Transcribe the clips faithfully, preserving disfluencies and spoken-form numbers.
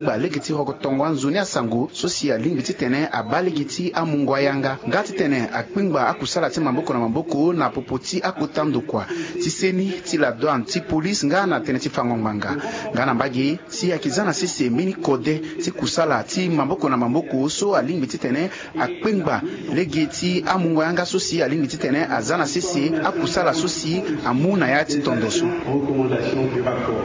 Akpengba lege ti rokotongo anzoni asango so si alingbi titene abaa lege ti amungo ayanga nga titene akpengba akusala ti maboko na maboko na popo ti akota ndokua ti seni, ti la douane, ti police nga na tënë ti fango ngbanga. Nga na mbage si ayeke za na sese mbeni kode ti kusala ti maboko na maboko so alingbi titene akpengba lege ti amungo yanga so si alingbi titene aza na sese akusala so si amu na ya ti tondo so.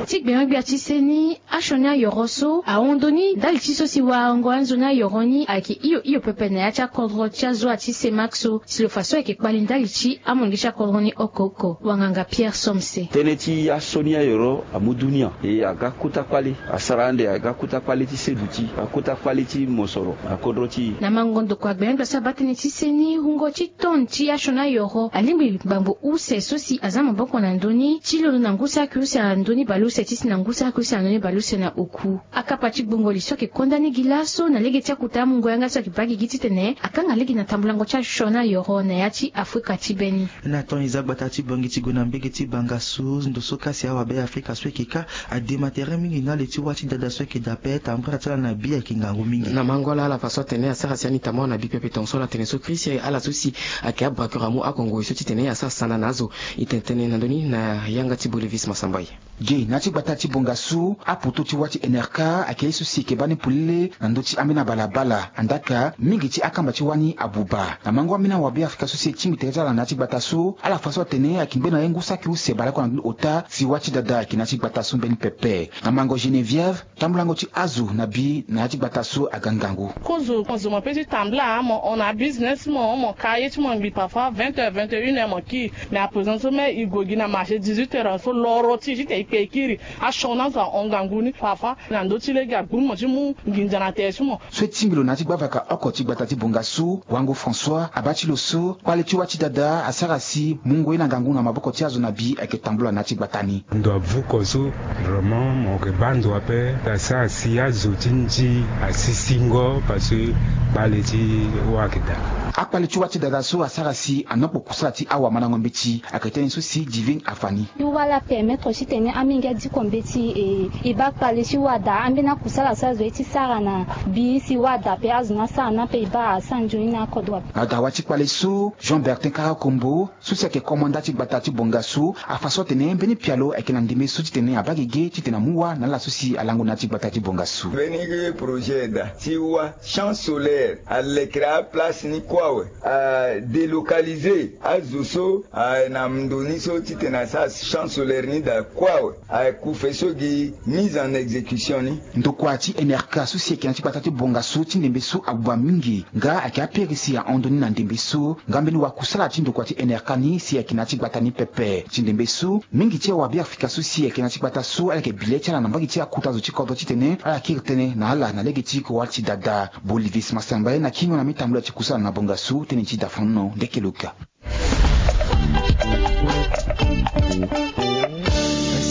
Ti gbenyogbia ti seni, asioni ayoro so ahon ndoni ndali ti so si warango anzoni ayoro ni ayeke hio hio pepe na ya ti akodro ti azo ti Semax so, si lo fa so ayeke kpali ndali ti amolenge ti akodro ni oko oko. Wanganga Pierre Somse. Tënë ti asioni ayoro amu dunia e aga kota kpale, asara ande aga kota kpale ti seduti, aga kota kpale ti mosoro na kodro ti e. Na mango ndokua gbenyogbia so abaa tënë ti seni, wungo ti ton ti asioni ayoro alingbi ngbangbo use so si aza maboko na ndö ni ti londo na ngu saki use na ndö ni baleuse ti si na ngu saki use na ndö ni baleuse na oku. Akapa ti gbongoli so ayeke konda ni gi laso na lege ti akota amungo yanga so ayeke baa gigi titene akanga lege na tambulango ti asioni ayoro na ya ti Afrika ti be ni. Na ton eza gbata ti Bangui ti gue na mbege ti Bangassou, ndo so kasi awabe Afrika so ayeke kâ adema tere mingi na le ti wâ ti dada so ayeke daa ape, tambula ti ala na bi ayeke ngangu mingi. Na mango ala ala fa so atene asara si ani tambula na bi pepe tongaso ala tene so Christ ala so si ayeke abraqueur amu akongo e so titene asara sanda na azo. E tene tënë na ndö ni na yanga ti Bolivis Masambai. Ge na ya ti gbata ti Bongassou, apoto ti wâ ti N R K ayeke ye so si e yeke baa ni polele na ndö ti ambeni abalabala. Andaa ka mingi ti akamba ti wâ ni abuba. Na mango ambeni awabe Afrika so si e tingbi tere ti ala na ya ti gbata so, ala fa so atene ayeke ngbe na ye ngu saki use bale kue na ndö ni ota si wâ ti dada ayeke na ya ti gbata so mbeni pepe. Na mango Geneviève, tambulango ti azo na bi na ya ti gbata so aga ngangu. Kozo mo zo mo pe ti tambula, mo hon na abusiness, mo hon mo ka ye ti mo ngbi parfois vingt heures, vingt et une heures mo kiri. Mais à présent so même e gue gi na marché dix-huit heures so loro ti e ti te e kpe e kiri. Asioni azo ahon ngangu ni parfois na ndö ti lege agburu mo ti mu nginza na tere ti mo. So e tingbi lo na ya ti gbavaka oko ti gbata ti Bongassou, Wango François, abaa ti lo so kpale ti wâ ti dada asara si mungo ye na ngangu na maboko ti azo na bi ayeke tambula na ya ti gbata ni. Ndo avuko so, vraiment mo yeke baa ndo ape, asara si azo ti nzi asisingo parce que kpale ti wâ ayeke daa. Akpale ti wâ ti dada so asara si anokpo kusala ti awamandango mbeti, ayeke tënë so si Divine afa ni. Ti wâ la permettre titene amenge adiko mbeti e, e baa kpale ti wâ daa. Ambeni akusala so azo ye ti sara na bi si wâ daa ape, azo ni asara ni ape e baa asara nzoni na akodro ape. Na dawa ti kpale so, Jean Bertin Karakombo, so si ayeke komanda ti gbata ti Bongassou, afa so atene mbeni pialo ayeke na ndembe so titene abaa gege titene amu wâ na ala so si alango na ya ti gbata ti Bongassou. Mbeni projet daa ti wâ champ solaire alekere aplace ni kue awe, adélocaliser azo so aye na ndo ni so titene asara champ solaire ni daa kue awe, akufe so gi mise en exécution ni. Ndokua ti N R K so si ayeke na ya ti gbata ti Bongassou ti ndembe so abuba mingi, nga ayeke apere si ahon ndo ni na ndembe so. Nga mbeni wakusala ti ndokua ti N R K ni si ayeke na ya ti gbata ni pepe. Ti ndembe so, mingi ti awabe Afrika so si ayeke na ya ti gbata so ala yeke bi le ti ala na mbage ti akota zo ti kodro titene ala kiri tënë na ala na lege ti kowal ti dada. Bolivis Masambai na kingo na mbi tambula ti kusala na Bongassou, tënë ti da fanono ndeke lo ka.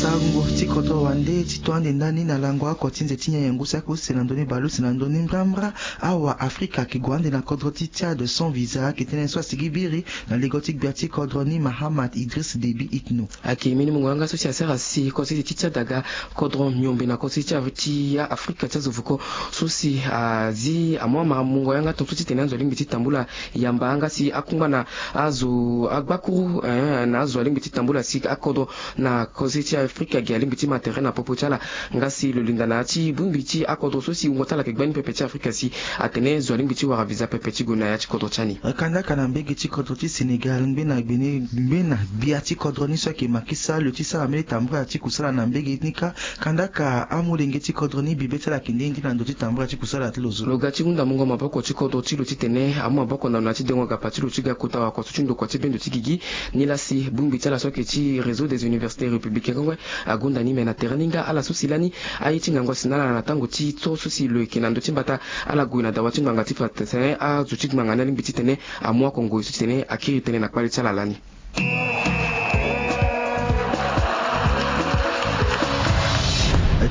Sango ti kodro wande ti to ande ndani na lango oko ti nze ti nyen yengo saki use na ndö ni baleuse na ndö ni mbrambra. Awa Afrika ayeke gue ande na kodro ti Tchad sans visa, ayeke tënë so asigi biri na lego ti gbia ti kodro ni Mahamat Idriss Déby Itno. Ayeke mbeni mungo yanga so si asara si kositi ti Tchad aga kodro miombe na kositi ti Afrika ti azo vuko so si azi amu amamungo yanga tongaso titene azo alingbi ti tambula yamba nga si akungba na azo agbakuru, eh, na azo alingbi ti tambula si akodro na kositi ti Afrika ge alingbi ti ma tere na popo ti ala. Nga si lo linda na ya ti bongbi ti akodro so si wungo ti ala ayeke gbani pepe ti Afrika si atene zo alingbi ti wara visa pepe ti gue na ya ti kodro ti ani. Kandaka na mbege ti kodro ti Sénégal, ngbena gbene ngbena gbia ti kodro ni so ayeke Macky Sall lo ti sara mbeni tambula ti kusala na mbege ni kâ. Kandaka amolenge ti kodro ni bibe ti ala ayeke nde nde na ndö ti tambula ti kusala ti lo zo. Lo ga ti hunda mungo maboko ti kodro ti lo titene amu maboko na lo na ya ti dengo gapa ti lo ti ga kota wakoso ti ndokua ti bendo ti gigi. Nilaa si bongbi ti ala so ayeke ti Réseau des Universités Républicaines Kongwe agonda ni me na tere ni nga ala so si lani aye ti ngangu asi na ala na tango ti so so si lo yeke na ndö ti mbata. Ala gue na dawa ti ngbanga ti fa tene azo ti ngbanga ni alingbi titene amu akongo e so titene akiri tënë na kpale ti ala lani.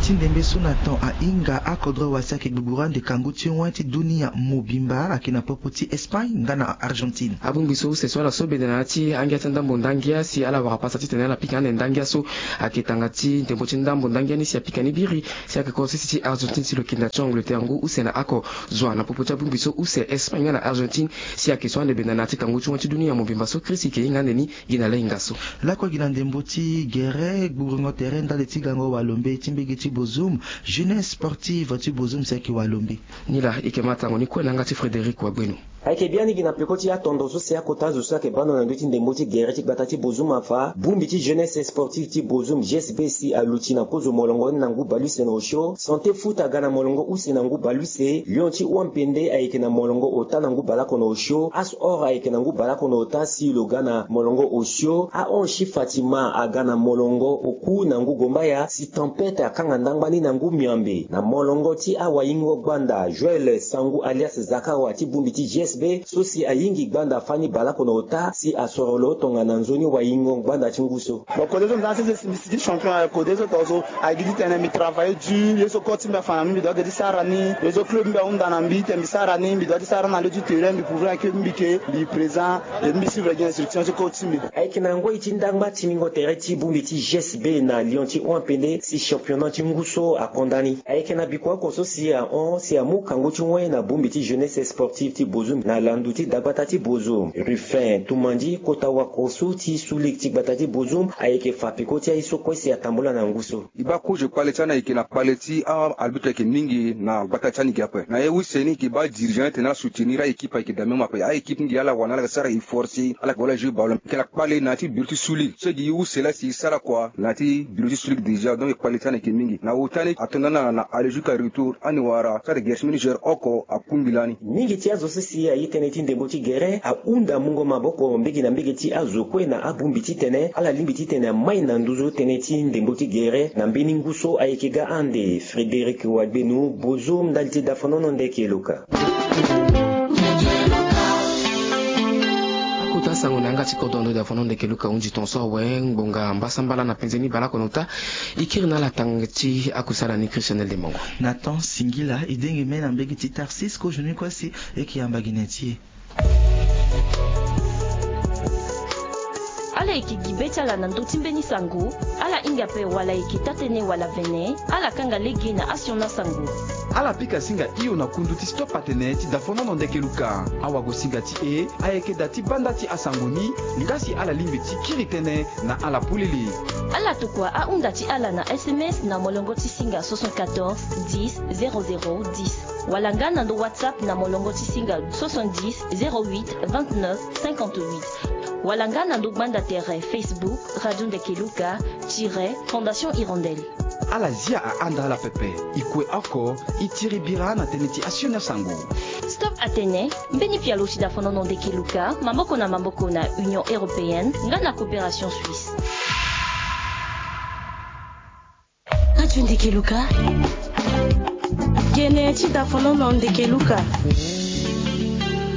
Ti ndembe so na temps ahinga akodro wasi ayeke gbugburu ande kangu ti wen ti dunia mobimba ayeke na popo ti Espagne nga na Argentine. Abongbi so use so ala so benda na ya ti angia ti ndambo ndangia si ala wara pasa titene ala pika ande ndangia so ayeke tanga ti ndembo ti ndambo ndangia ni si apika ni biri si ayeke kodro sese ti Argentine si lo yeke na ti Angleterre ngu use na oko zo na popo ti abongbi so use Espagne nga na Argentine si ayeke so ande benda na ya ti kangu ti wen ti dunia mobimba so krisi yeke hinga ande ni. Gi na lahinga so lakue gi na ndembo ti gere gburengo tere ndali ti gango walombe ti mbege ti Bozoum, jeunesse sportive ti Bozoum si ayeke walombe. Ni laa e yeke ma tango ni kue na yanga ti Frédéric Wagbeno. Ayeke biani gi na peko ti atondo so si akota azo so ayeke bando na ndö ti ndembo ti gere ti gbata ti Bozoum afa, bongbi ti jeunesse sportive ti Bozoum, G S B, si aluti na kozo molongo ni na ngu baleuse na osio. Santé Foot aga na molongo use na ngu baleuse. Lion ti Wampende ayeke na molongo ota na ngu baleoko na osio. As Or ayeke na ngu baleoko na ota si lo ga na molongo osio. Ahon Chi Fatima aga na molongo oku na ngu gombaya si Tempête akanga ndangba ni na ngu miambe. Na molongo ti awaingo gbanda, Joël Sangu alias Zakawa ti bongbi ti G S B so si ayingi gbanda fani baleoko na ota si asoro lo tongana nzoni waingo gbanda ti ngu so. Bon, kode so mbi za sese si mbi si ti champion, eh, kode so tongaso ayeke gi ti tene mbi travailler dur, ye so kode ti mbi afa na mbi, mbi doit ge ti sara ni, ye so club mbi ahunda na mbi tene mbi sara ni, mbi doit ti sara na le ti terrain, mbi prouver na club mbi ke mbi présent, et mbi suivre gi instruction ti kode ti mbi. Ayeke na ngoi ti ndangba tingbingo tere ti bongbi ti G S B na Lion ti Wampende si championnat ti ngu so akonda ni. Ayeke na bikua oko so si ahon si amu kangu ti wen na bongbi ti jeunesse sportive ti Bozoum na landu ti dagbata ti Bozoum. Ruffin Tumandi kota wakosu ti Sulik ti gbata ti Bozoum ayeke fa peko ti aye so kue si atambula na ngu so. E baa kozo kpale ti ani ayeke na kpale ti a-arbitre ayeke mingi na gbata ti ani ge ape. Na ye use ni e yeke baa dirigeant ni tene ala soutenir a-équipe ayeke daa même ape. A-équipe ni ge ala wara na ala yeke sara e forcer, ala yeke wara jeu ballon. E yeke na kpale na ya ti bureau ti Sulik. So e gi use laa si e sara kua na ya ti bureau ti Sulik déjà, donc kpale ti ani ayeke mingi. Na ota ni ato na ala na aller jusqu'à retour, ani wara sara gere ti mbeni joueur oko akungbi lani. Mingi ti azo so si aye tënë ti ndembo ti gere ahunda mungo maboko mbege na mbege ti azo kue na abongbi titene ala lingbi titene amai na nduzu tënë ti ndembo ti gere na mbeni ngu so ayeke ga ande. Frédéric Wagbenu, Bozoum, ndali ti dafonono ndeke luka. Akota sango na yanga ti kodro ndo dafonono ndeke luka hunzi tongaso awe ngbonga mbasambala na penze ni baleoko na ota. E kiri na ala tanga ti akusala ni Christian Eldemongo. Na temps singila e denge me na mbege ti Tarsis kozo ni kue si e yeke yamba gi na ya ti e. Ala yeke gi be ti ala na ndö ti mbeni sango, ala hinga ape wala e yeke taa-tënë wala vene, ala kanga lege na asioni asango. Ala pika singa hio na kundu ti Stop Atene ti dafonono ndeke luka. Awagosinga ti e ayeke daa ti banda ti asango ni, nga si ala lingbi ti kiri tënë na ala polele. Ala tokua ahunda ti ala na S M S na molongo ti singa soixante-quatorze dix zéro zéro dix. Wala nga na ndo WhatsApp na molongo ti singa soixante-dix zéro huit vingt-neuf cinquante-huit. Wala nga na ndo gbanda tere Facebook Radio Ndeke Luka tiret Fondation Hirondelle. Ala zia ahanda ala pepe. E kue oko, e tiri bira na tënë ti asioni asango. Stop Atene, mbeni pialo ti dafonono ndeke luka, maboko na maboko na Union Européenne, nga na Coopération Suisse. Radio Ndeke Luka. Gene ti dafonono ndeke luka.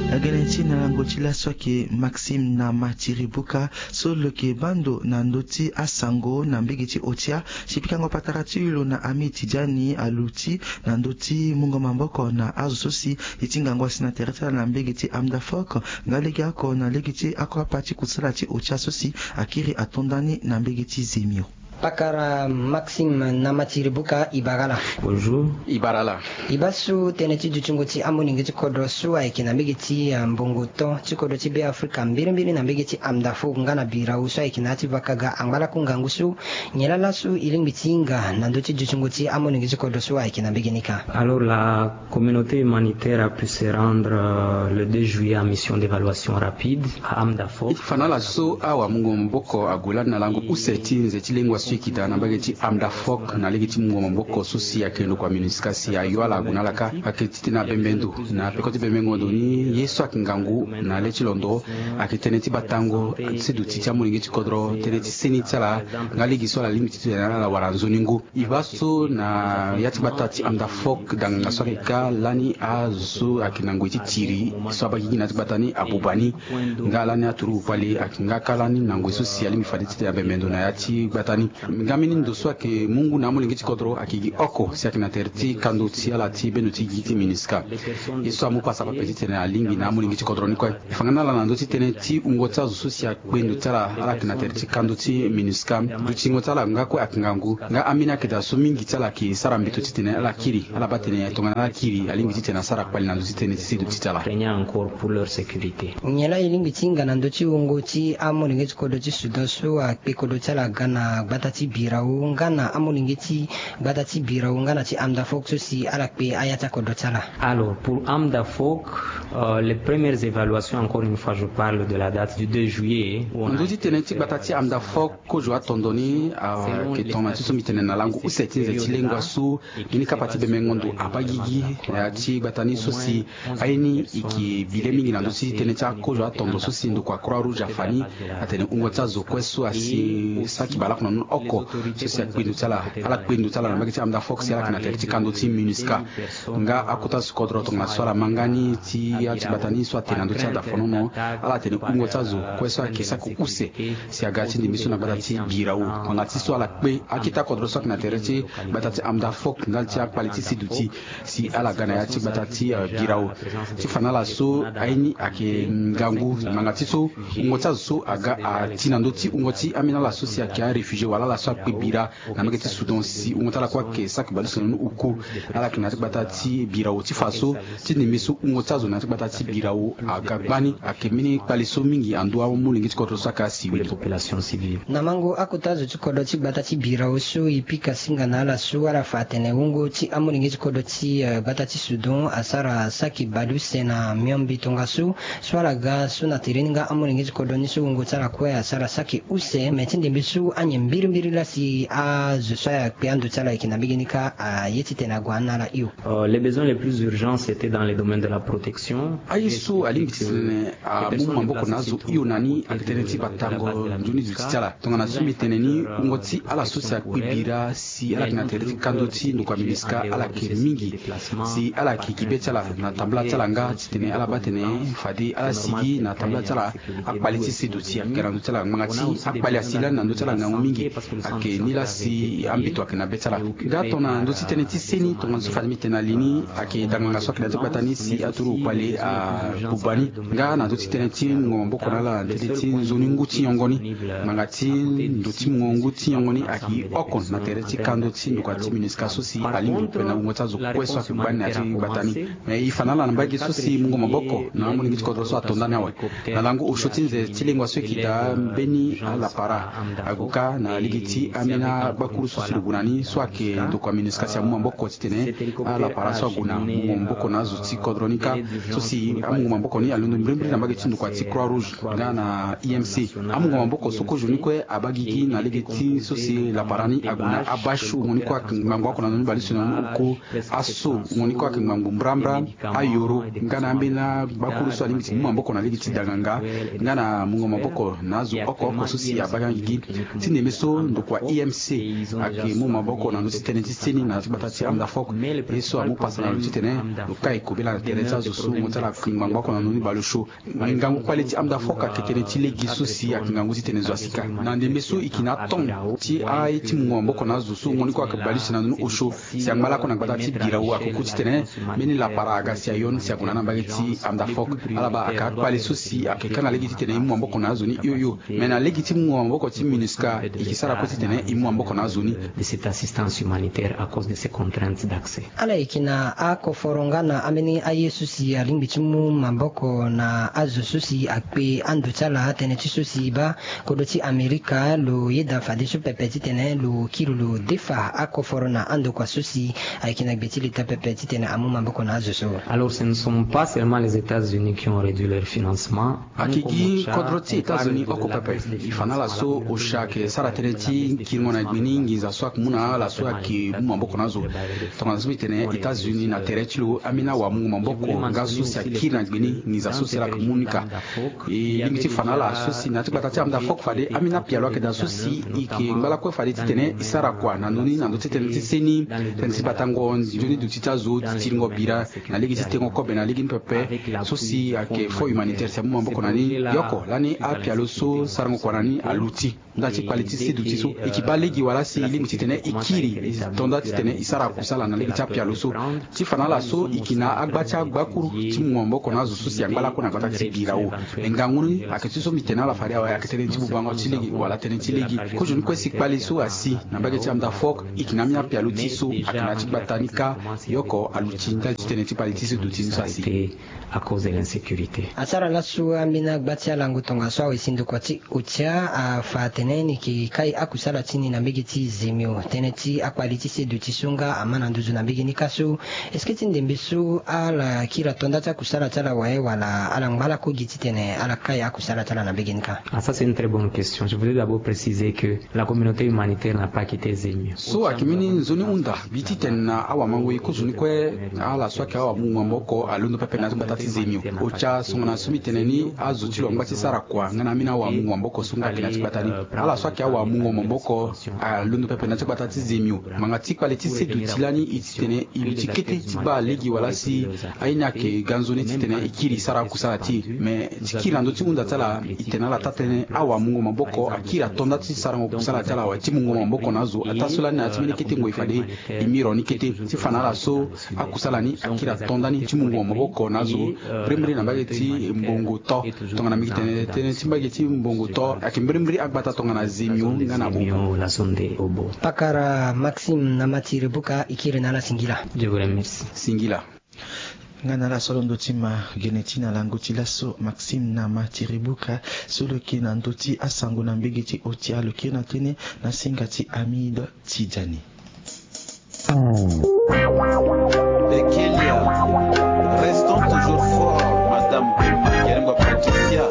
Agene ti na lango ti laso ayeke Maxime na Matiri Buka, so lo yeke bando na ndö ti asango na mbege ti otia. Si pikango patara ti lo na Ami Tidiani aluti na ndö ti mungo maboko na azo so si e ti ngangu asi na tere ti ala na mbege ti Amdafok, nga legeoko na lege ti akua pa ti kusala ti otia so si akiri ato ndani na mbege ti Zemio. Pakara Maxime na Matiri Buka, e bara ala. Bonjour. E bara ala. E baa so tënë ti dutingo ti amolenge ti kodro so ayeke na mbege ti, ah, mbongo to ti kodro ti Beafrika mbirimbiri na mbege ti Amdafok nga na birau so ayeke na ya ti vakaga angba lakue ngangu so. Nyen laa laso e lingbi ti hinga na ndö ti dutingo ti amolenge ti kodro so ayeke na mbege ni ka? Alors, la communauté humanitaire a pu se rendre, euh, le deux juillet à mission d'évaluation rapide à Amdafok. E fa na ala so awamungo maboko ague lani na lango use ti nze ti lengua so e yeke daa na mbage ti Amdafok na lege ti mungo maboko so si ayeke ndokua MINUSCA si ayo ala ague na ala ka. Ayeke titene abembe ndo na peko ti bembengo ndo ni ye so ayeke ngangu na le ti londo ayeke tënë ti batango ti se duti ti amolenge ti kodro, tënë ti seni ti ala nga lege so ala lingbi ti tene na ala wala nzoni ngu. E baa so na ya ti gbata ti Amdafok danganga so ayeke ka lani azo so ayeke na ngoi ti tiri so abaa gigi na ya ti gbata ni abuba ni. Nga lani aturugu kpale ayeke nga ka lani na ngoi so si alingbi fade titene abembe ndo na ya ti gbata ni. Nga mbeni ndo so ayeke mu ngu na amolenge ti kodro ayeke gi oko si ayeke na tere ti kando ti ala ti bendo ti gigi ti MINUSCA. Ye so amu pasa pepe titene alingbi na amolenge ti kodro ni kue. E fa nga na ala na ndö ti tënë ti wungo ti azo so si akpe ndo ti ala, ala yeke na tere ti kando ti MINUSCA. Dutingo ti ala nga kue ayeke ngangu. Nga ambeni akeda so mingi ti ala ayeke sara mbito titene ala kiri, ala baa tene tongana ala kiri alingbi titene asara kpali na ndö ti tënë ti seduti ti ala. Nyen laa e lingbi ti hinga na ndö ti wungo ti amolenge ti kodro ti Soudan so akpe kodro ti ala aga na gbata ti Birao nga na amolenge ti gbata ti Birao nga na ti Amdafok so si ala kpe aya ti akodro ti ala? Alors, pour Amdafok, euh, les premières évaluations, encore une fois, je parle de la date du deux juillet, où on a... Na ndö ti tënë ti gbata ti Amdafok, kozo atondo ni ayeke tongana ti so mbi tene na lango use ti nze ti lengua so, mbeni kapa ti bemengo ndo abaa gigi na ya ti gbata ni so si aye ni e yeke bi le mingi na ndö ti tënë ti akozo atondo so si ndokua Croix Rouge afa ni, atene wungo ti azo kue so asi saki baleoko na ni oko so si akpe ndo ti ala, ala kpe ndo ti ala na mbage ti Amdafok si ala yeke na tere ti kando ti MINUSCA. Nga akota zo ti kodro tongana so ala ma nga ni ti ya ti gbata ni so atene na ndö ti adafonono, ala tene wungo ti azo kue so ayeke saki use si aga ti ndembe so na gbata ti Birao. Ngbanga ti so ala kpe akita kodro so ayeke na tere ti gbata ti Amdafok ndali ti akpali ti seduti si ala ga na ya ti gbata ti, euh, Birao. Ti fa na ala so aye ni ayeke ngangu ngbanga ti so wungo ti azo so aga ati na ndö ti wungo ti ambeni ala so si ayeke aréfugié wala ala so akpe bira na mbage ti Soudan si wungo ti ala kue ayeke saki baleuse na ni oko. Ala yeke na ya ti gbata ti Birao ti fa so ti ndembe so wungo ti azo na ya ti gbata ti Birao aga gbani ayeke mbeni kpale so mingi ando amolenge ti kodro so ayeke asiwili. Na mango akota zo ti kodro ti gbata ti Birao so e pika singa na ala so ala fa atene wungo ti amolenge ti kodro ti, euh, gbata ti Soudan asara saki baleuse na miombe tongaso so ala ga so na tere ni nga amolenge ti kodro ni so wungo ti ala kue asara saki use, me ti ndembe so anyen mbirimbiri laa si azo so ayeke ando ti ala ayeke na mbege ni kâ aye titene ague na ala hio. Euh, les besoins les plus urgents, c'était dans les domaines de la protection. Aye so alingbi titene amu maboko na azo hio na ni ayeke tënë ti batango nzoni duti ti ala. Tongana so mbi tene ni, wungo ti ala so si akpe bira si ala yeke na tere ti kando ti ndokua MINUSCA ala yeke mingi. Si ala yeke gi be ti ala na tambula ti ala nga titene ala baa tene fade ala sigi na tambula ti ala, akpali ti seduti ayeke na ndö ti ala ngbanga ti akpali asi lani na ndö ti ala ngangu mingi. Ayeke ni laa si ambito ayeke na be ti ala. Nga tongana ndö ti tënë ti seni tongana so fade mbi tene na li ni, ayeke danganga so ayeke na ya ti gbata ni si aturugu kpale abuba ni. Nga na ndö ti tënë ti mungo maboko na ala na tënë ti nzoni ngu ti nyongo ni, ngbanga ti ndo ti mungo ngu ti nyongo ni ayeke oko na tere ti kando ti ndokua ti MINUSCA so si alingbi pepe na wungo ti azo kue so ayeke gbani na ya ti gbata ni. Me e fa na ala na mbage so si mungo maboko na amolenge ti kodro so ato ndani awe. Na lango osio ti nze ti lengua so e yeke daa mbeni alapara ague kâ na lege ti ambeni agbakuru so si lo gue na ni so ayeke ndokua MINUSCA si amu maboko titene alapara so ague na mungo maboko na azo ti kodro ni kâ. So si amungo maboko ni alondo mbirimbiri na mbage ti ndokua ti Croix Rouge nga na I M C. Amungo maboko so kozo ni kue abaa gigi na lege ti so si lapara ni ague na abasio wungo ni kue ayeke ngbangbo oko na ndoni baleuse na ndoni oko. Aso wungo ni kue ayeke ngbangbo mbrambra, ayoro nga na ambeni agbakuru so alingbi ti mu maboko na lege ti danganga nga na mungo maboko na azo oko oko so si abaa gigi. Ti ndembe so ndokua I M C ayeke mu maboko na ndö ti tënë ti seni na ya ti gbata ti Amdafok. Ye so amu pasa na lo titene lo kai kobela na tere ti azo so wungo ti ala ayeke ngbangbo oko na ndoni baleosio. Ngangu kpale ti Amdafok ayeke tënë ti lege so si ayeke ngangu titene zo asi ka. Na ndembe so e yeke na atombe ti aye ti mungo maboko na azo so wungo ni kue ayeke baleuse na ndoni osio si angba lakue na gbata ti Birao akuku titene mbeni lapara aga si ayo ni si ague na ni na mbage ti Amdafok. Ala baa ayeke akpale so si ayeke kanga lege titene e mu maboko na azo ni hio hio. Me na lege ti mungo maboko ti MINUSCA e yeke sara kue titene e mu maboko na azo ni. De cette assistance humanitaire à cause de ces contraintes d'accès. Ala yeke na akoforo nga na ambeni aye so si alingbi ti mu maboko na azo so si akpe ando ti ala, tënë ti so si baa kodro ti Amerika lo yeda fadeso pepe titene lo kiri lo defa akoforo na andokua so si ayeke na gbe ti leta pepe titene amu maboko na azo so. Alors, ce ne sont pas seulement les États-Unis qui ont réduit leur financement. Ayeke gi kodro ti États-Unis oko pepe. E fa na ala so osha ayeke sara tënë ti kiringo na gbe ni nginza so ayeke mu na ala so ayeke mu maboko na azo. Tongana so mbi tene États-Unis na tere ti lo ambeni awamungo maboko nga so si akiri na gbe ni nginza so si ala yeke mu ni ka. E lingbi ti fa na ala so si na ya ti gbata ti Amdafok fade ambeni apialo ayeke daa so si e yeke ngba lakue fade titene e sara kua na ndö ni na ndö ti tënë ti seni, tënë ti batango nzoni duti ti azo, ti tiringo bira na lege ti tengo kobe na lege ni pepe. So si ayeke fonds humanitaire si amu maboko na ni, e oko lani apialo so sarango kua na ni aluti. nda ti kpale ti seduti so, e yeke baa lege wala si e lingbi titene e kiri, e to nda titene e sara kusala na lege ti apialo so. Ti fa na ala so, e yeke na agba ti agbakuru ti mungo maboko na azo so si angba lakue na gbata ti Birao. Me ngangu ni ayeke ti so mbi tene na ala fade awe, ayeke tënë ti bubango ti lege wala tënë ti lege. Kozoni kue si kpale so asi na mbage ti amda fok, e yeke na ambeni apialo ti e so ayeke na ya ti gbata ni kâ. Yoko aluti ndali ti tënë ti kpale ti seduti ni so asi. Asara laso ambeni agba ti alango tongaso awe si ndokua ti otia afa atene ni yeke kai akusala ti ni na mbege ti zemio. Tënë ti akpale ti seduti so nga ama na nduzu na mbege ni kâ so. Est-ce que ti ndembe so ala kiri ato nda ti akusala ti ala awe wala ala ngba lako gi titene ala kai akusala ti ala na mbege ni kâ? Ah, ça, c'est une très bonne question. Je voudrais d'abord préciser que la communauté humanitaire n'a pas quitté Zemio. So ayeke mbeni nzoni hunda. Mbi ti tene na awamangoi kozoni kue, ala so ayeke awamungo maboko alondo pepe na ya ti gbata ti Zemio. Otia so nga na so mbi tene ni, azo ti lo angba ti sara kua nga na ambeni awamungo maboko so nga ayeke na ya ti gbata ni. Ala so ayeke awamungo maboko alondo pepe na ya ti gbata ti Zemio. Ngbanga ti kpale ti seduti lani e titene e luti kete ti baa lege wala si aye ni ayeke ga nzoni titene e kiri e sara akusala ti e. Me ti kiri na ndö ti hunda ti ala, e tene na ala taa-tënë, awamungo maboko akiri ato nda ti sarango kusala ti ala awe ti mungo maboko na azo. Ataa so lani na ya ti mbeni kete ngoi fade e miro ni kete ti fa na ala so akusala ni akiri ato nda ni ti mungo maboko na azo. Mbirimbiri na mbage ti mbongo to, tongana mbi yeke tene tënë ti mbage ti mbongo to, ayeke mbirimbiri agbata tongana Zemio nga na Obo. Pakara Maxime na Matiri Buka, e kiri na ala singila. Je vous remercie. Singila. Nga na ala so alondo ti ma gene ti na lango ti laso, Maxime na Matiri Buka, so lo yeke na ndö ti asango na mbage ti otia, lo kiri na tënë na singa ti Hamid Tidjani. Bekelia, restons toujours forts, Madame Emma Kerengua Patricia.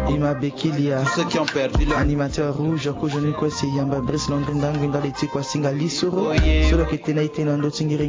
Ima Bekelia, tous ceux qui ont perdu leur animateur rouge, kozoni kue si yamba Brice Londre Ndangui ndali ti kua singa lisoro. Oh yeah. So lo yeke tene ite na ndö ti ngiri